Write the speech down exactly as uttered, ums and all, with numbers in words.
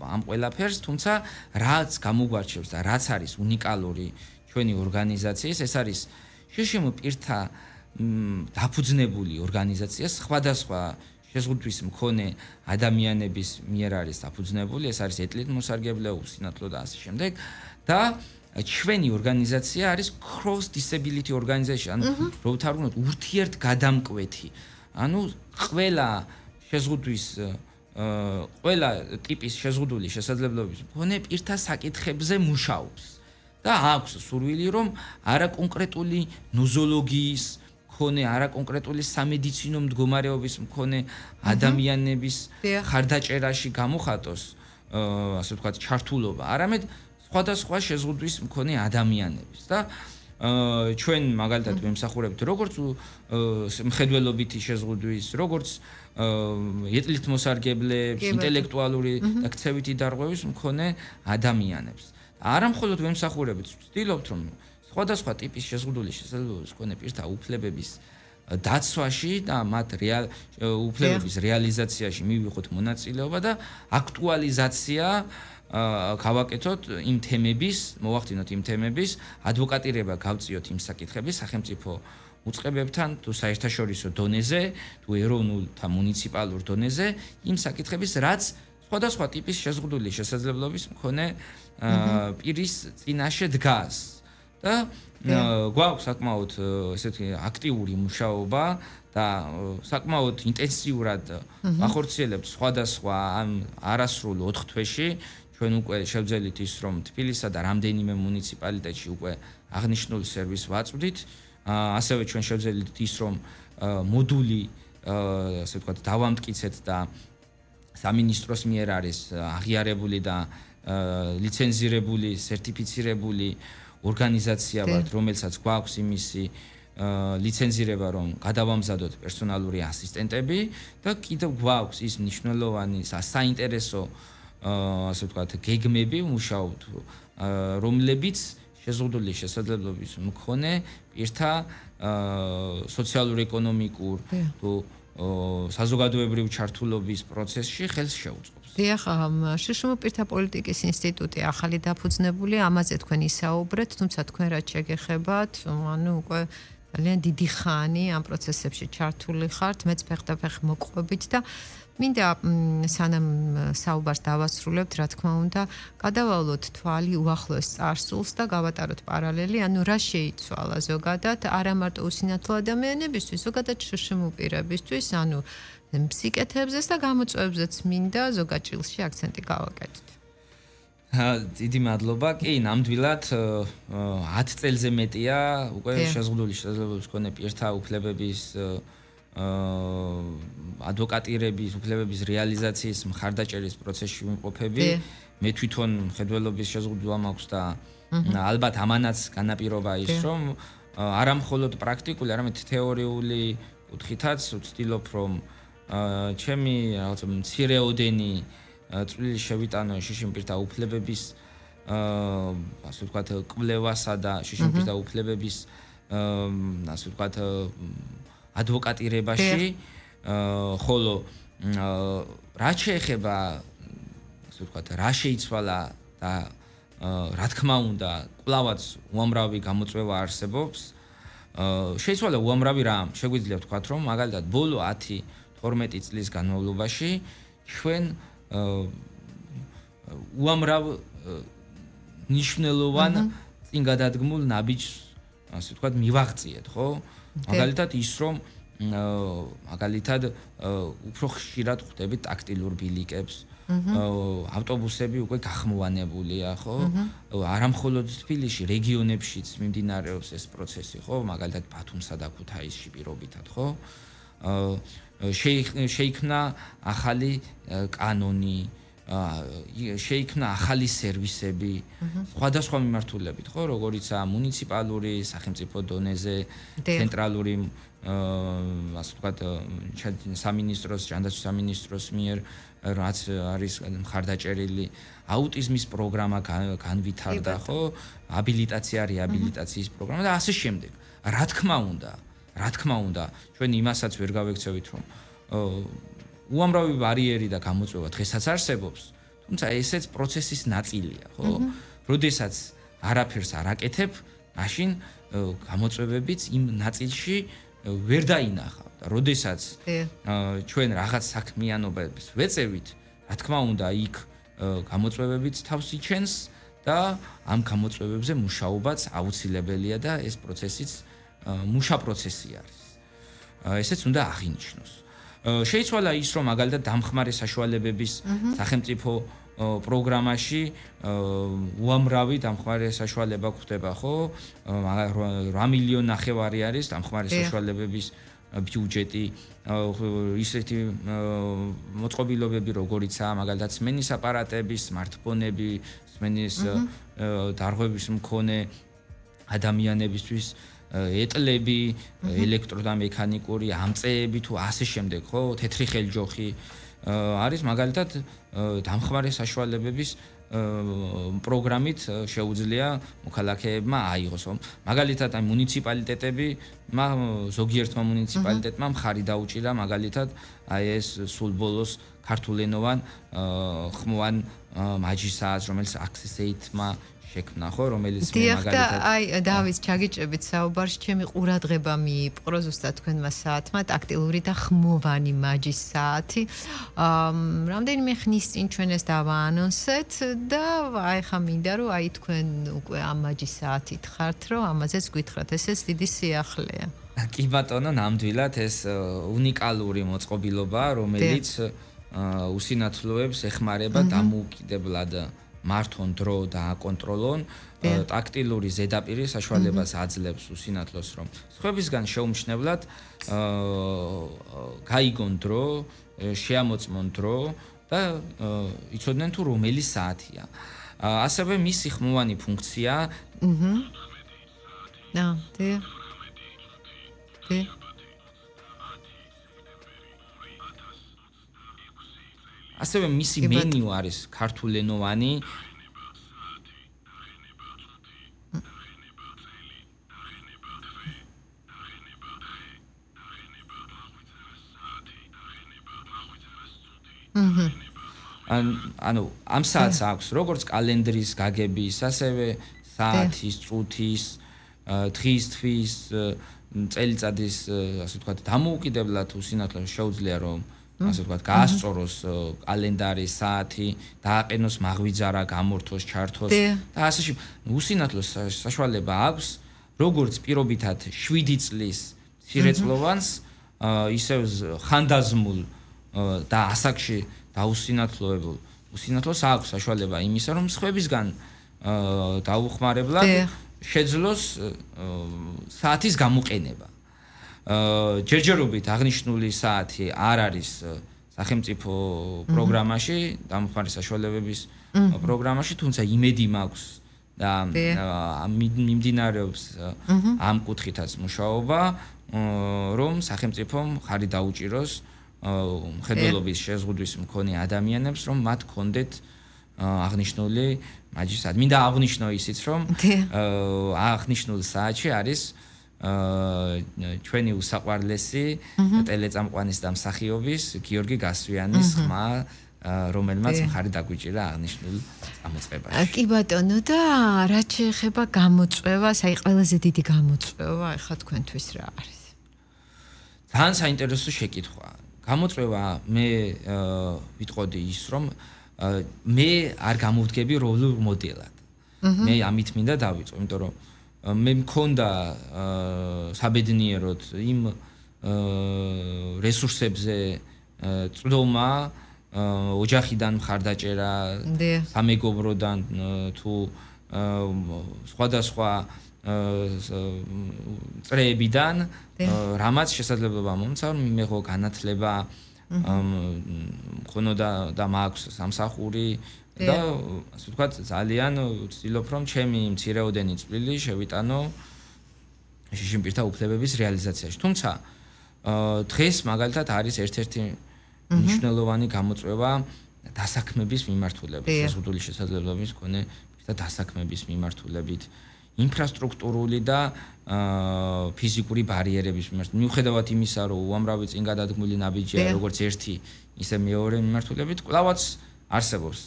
ამ ყველაფერს, თუმცა რაც გამოგვარჩევს და რაც არის უნიკალური ჩვენი ორგანიზაციის, ეს არის შშმ პირთა დაფუძნებული ორგანიზაცია, სხვადასხვა შეზღუდვის მქონე ადამიანების მიერ არის დაფუძნებული, ეს არის ეთნიკურ უსინათლო და ასე შემდეგ და ჩვენი ორგანიზაცია არის cross disability organization, ანუ რო ვთარგმნოთ ურთიერთგადამკვეთი. ანუ ყველა შეზღუდვის ყველა ტიპის შეზღუდული შესაძლებლობების მქონე პირთა საკითხებზე მუშაობს და აქვს სურვილი რომ არაკონკრეტული ნოზოლოგიის მქონე, არაკონკრეტული სამედიცინო მდგომარეობის მქონე ადამიანების ხარდაჭერაში გამოხატოს, ასე ვთქვათ, ჩართულობა, არამედ სხვადასხვა შეზღუდვის მქონე ადამიანების და ჩვენ მაგალითად ვემსახურებთ როგორც მხედველობითი შეზღუდვის, როგორც ეთნიკმოსარგებლებს, ინტელექტუალური და ქცევითი დარღვევის მქონე ადამიანებს. არა მხოლოდ ვემსახურებთ, ვცდილობთ რომ სხვადასხვა ტიპის შეზღუდული შესაძლებლობის მქონე პირთა უფლებების დაცვაში და მათ უფლებების რეალიზაციაში მივიღოთ მონაწილეობა და აქტუალიზაცია გავაკეთოთ იმ თემების, მოვახდინოთ იმ თემების, ადვოკატირება გავწიოთ იმ საკითხების სახელმწიფო უწყებებთან, თუ საერთაშორისო დონეზე, თუ ეროვნულ და მუნიციპალურ დონეზე, იმ საკითხების, რაც სხვადასხვა ტიპის შეზღუდული შესაძლებლობის მქონე პირის წინაშე დგას. და გვაქვს საკმაოდ ესეთი აქტიური მუშაობა და საკმაოდ ინტენსიურად ვახორციელებთ სხვადასხვა ამ არასრულ ოთხ თვეში. ჩვენ უკვე შევძელით ის რომ თბილისსა და რამდენიმე მუნიციპალიტეტში უკვე აღნიშნულ სერვისს ვაწვდით. ასევე ჩვენ შევძელით ის რომ მოდული ასე ვთქვათ დავამტკიცეთ და სამინისტროს მიერ არის აღიარებული და ლიცენზირებული, სერტიფიცირებული ორგანიზაცია ვართ, რომელსაც გვაქვს იმისი ლიცენზირება, რომ გადავამზადოთ პერსონალური ასისტენტები და კიდევ გვაქვს ის მნიშვნელოვანი საინტერესო ასე ვთქვათ, გეგმები მუშაობთ, რომლებიც შეზღუდული შესაძლებლობის მქონე პირთა სოციალურ-ეკონომიკურ თუ საზოგადოებრივ ჩართულობის პროცესში ხელს შეუწყობს. დიახ, შშმ პირთა პოლიტიკის ინსტიტუტი ახალი დაფუძნებული, ამაზე თქვენ ისაუბრეთ, თუმცა თქვენ რაც შეგეხებათ, ანუ უკვე ძალიან დიდი ხანი ამ პროცესებში ჩართული ხართ, მეც ფეხდაფეხ მოყვებით და მინდა სანამ საუბარს დავასრულებთ, რა თქმა უნდა, გადავალოთ თვალი უახლოეს წარსულს და გავატაროთ პარალელი, ანუ რა შეიცვალა ზოგადად, არა მარტო უსინათლო ადამიანებისთვის, ზოგადად შშმ პირებისთვის, ანუ სიკეთებზეც და გამოწვევებზეც მინდა ზოგად ჭილში აქცენტი გავაკეთოთ. დიდი მადლობა. კი, ნამდვილად ათ წელზე მეტია უკვე შეზღუდული შესაძლებლობის მქონე პირთა უფლებების ადვოკატირების, უფლებების რეალიზაციის მხარდაჭერის პროცესში ვიმყოფები. მე თვითონ მხედველობის შეზღუდვა მაქვს და ალბათ ამანაც განაპირობა ის, რომ არა მხოლოდ პრაქტიკული, არამედ თეორიული კუთხითაც ვცდილობ, რომ ჩემი რაღაცა მცირეოდენი წვლილი შევიტანო შშმ პირთა უფლებების ასე ვთქვათ კვლევასა და შშმ პირთა უფლებების ასე ვთქვათ ადვოკატირებაში, ხოლო რაც შეეხება ასე ვთქვათ რა შეიცვალა და რა თქმა უნდა კვლავაც უამრავი გამოწვევა არსებობს. შეიცვალა უამრავი რამ, შეგვიძლია ვთქვათ, რომ მაგალითად ბოლო ათი თორმეტი წლის განმავლობაში ჩვენ უამრავ ნიშნულოვან წინ გადადგმულ ნაბიჯს ასე ვთქვათ მივაღწიეთ, ხო? მაგალითად ის რომ მაგალითად უფრო ხშირად ხვდებით ტაქტილურ ბილიკებს, ავტობუსები უკვე გახმოვანებულია, ხო? არა მხოლოდ თბილისში, რეგიონებშიც მიმდინარეობს ეს პროცესი, ხო? მაგალითად ბათუმსა და ქუთაისში პირობითად, ხო? შეიქმნა ახალი კანონი, შეიქმნა ახალი სერვისები, სხვადასხვა მიმართულებით, ხო, როგორიცაა მუნიციპალური, სახელმწიფო დონეზე, ცენტრალური, ასე ვთქვათ, სამინისტროს, ჯანდაცვის სამინისტროს მიერ, რაც არის მხარდაჭერილი, აუტიზმის პროგრამა განვითარდა, ხო, აბილიტაცია, რეაბილიტაციის პროგრამა და ასე შემდეგ. რა თქმა უნდა, რა თქმა უნდა, ჩვენ იმასაც ვერ გავექცევით, რომ უამრავი ბარიერი და გამოწვევა დღესაც არსებობს, თუმცა ესეც პროცესის ნაწილია, ხო? როდესაც არაფერს არ აკეთებ, მაშინ გამოწვევებიც იმ ნაწილში ვერ დაინახავ და როდესაც ჩვენ რაღაც საქმიანობებს ვეწევით, რა თქმა უნდა, იქ გამოწვევებიც თავს იჩენს და ამ გამოწვევებზე მუშაობაც აუცილებელია და ეს პროცესიც მუშა პროცესი არის. ესეც უნდა აღინიშნოს. შეიცვალა ის, რომ მაგალითად დამხმარე საშუალებების სახელმწიფო პროგრამაში უამრავი დამხმარე საშუალება გვხვდება, ხო? რვა მილიონი ნახევარი არის დამხმარე საშუალებების ბიუჯეტი, ისეთი მოწყობილობები, როგორიცაა მაგალითად სმენის აპარატები, smartphone-ები, სმენის დარღვევის მქონე ადამიანებისთვის ეტლები, ელექტრო და მექანიკური ამწეები თუ ასე შემდეგ, ხო? თეთრი ხელჯოხი არის მაგალითად დამხმარე საშუალებების პროგრამით შეუძლია მოქალაქეებმა აიღოს. მაგალითად აი მუნიციპალიტეტები, ზოგიერთმა მუნიციპალიტეტმა მხარი დაუჭირა მაგალითად აი ეს სულ ბოლოს ქართულენოვან ხმოვან მაჯისაას, რომელიც access-მა შექმნა, ხო, რომელიც მე მაგალითად აი დავით ჩაგიჭებით საუბარში, ჩემი ყურადღება მიიპყრო ზუსტად თქვენმა საათმა ტაქტილური და ხმოვანი მაჯის საათი. რამდენიმე ხნის წინ ჩვენ ეს დავაანონსეთ და აი ხა მინდა რომ აი თქვენ უკვე ამ მაჯის საათით ხართ, რომ ამაზეც გითხრათ, ესეც დიდი სიახლეა. კი ბატონო, ნამდვილად ეს უნიკალური მოწყობილობაა, რომელიც უსინათლოებს ეხმარება დამოუკიდებლად მართონ დრო და აკონტროლონ ტაქტილური ზედაპირი საშუალებას აძლევს უსინათლოს, რომ სხვებისგან შეუმჩნევლად გაიგონ დრო, შეამოწმონ დრო და იცოდნენ თუ რომელი საათია. ასევე მისი ხმოვანი ფუნქცია აჰა. და დე დე ასევე მისი მენიუ არის ქართულენოვანი. ანუ ამ საათს აქვს როგორც კალენდრის გაგების, ასევე საათის, წუთის, დღის, თვის, წელიწადის, ასე ვთქვათ, დამოუკიდებლად უსინათლოს შეუძლია რომ ასე ვთქვათ, გაასწოროს კალენდარი, საათი, დააყენოს მაღვიძარა, გამორთოს, ჩართოს და ასე შემდეგ. უსინათლოს საშუალება აქვს, როგორც პირობითად შვიდი წლის მცირეწლოვანს, ისევ ხანდაზმულ და ასაკში დაუსინათლოებულ უსინათლოს აქვს საშუალება იმისა, რომ სხვებისგან დაუხმარებლად შეძლოს საათის გამოყენება. ჯერჯერობით აღნიშნული საათი არ არის სახელმწიფო პროგრამაში, დამხმარე საშუალებების პროგრამაში, თუმცა იმედი მაქვს და მიმდინარეობს ამ კუთხითაც მუშაობა, რომ სახელმწიფომ ხარი დაუჭიროს მხედველობის შეზღუდვის მქონე ადამიანებს, რომ მათ კონდეთ აღნიშნული მაჯის საათი. მინდა აღვნიშნო ისიც, რომ აღნიშნულ საათში არის ჩვენი უსაყვარლესი ტელეწამყვანის და მსახიობის გიორგი გასვიანის ხმა, რომელმაც მხარი დაგვიჭირა აღნიშნულ წამოწყებაში. კი ბატონო, და რაც შეეხება გამოწვევას, აი ყველაზე დიდი გამოწვევა ახლა თქვენთვის რა არის? ძალიან საინტერესო შეკითხვა. გამოწვევა მე ვიტყოდი ის, რომ მე არ გამოვდგები როლურ მოდელად. მე ამით მინდა დავიწყო, იმიტომ რომ მე მქონდა საბედნიეროდ იმ რესურსებზე წვდომა, ოჯახიდან მხარდაჭერა, სამეგობროდან თუ სხვადასხვა წრეებიდან, რამაც შესაძლებლობა მომცა, მიიღო განათლება, მქონოდა და მაქვს სამსახური და ასე ვთქვათ, ძალიან ვცდილობ, რომ ჩემი მცირეოდენი წვლილი შევიტანო შიშიმპირთა უფლებების რეალიზაციაში. თუმცა დღეს მაგალითად არის ერთ-ერთი მნიშვნელოვანი გამოწვევა დასაქმების მიმართულებით, შეზღუდული შესაძლებლობის მქონე და დასაქმების მიმართულებით, ინფრასტრუქტურული და ფიზიკური ბარიერების მიმართულებით. მიუხედავად იმისა, რომ უამრავი წინ გადადგმული ნაბიჯია, როგორც ერთი, ისე მეორე მიმართულებით, კვლავაც არსებობს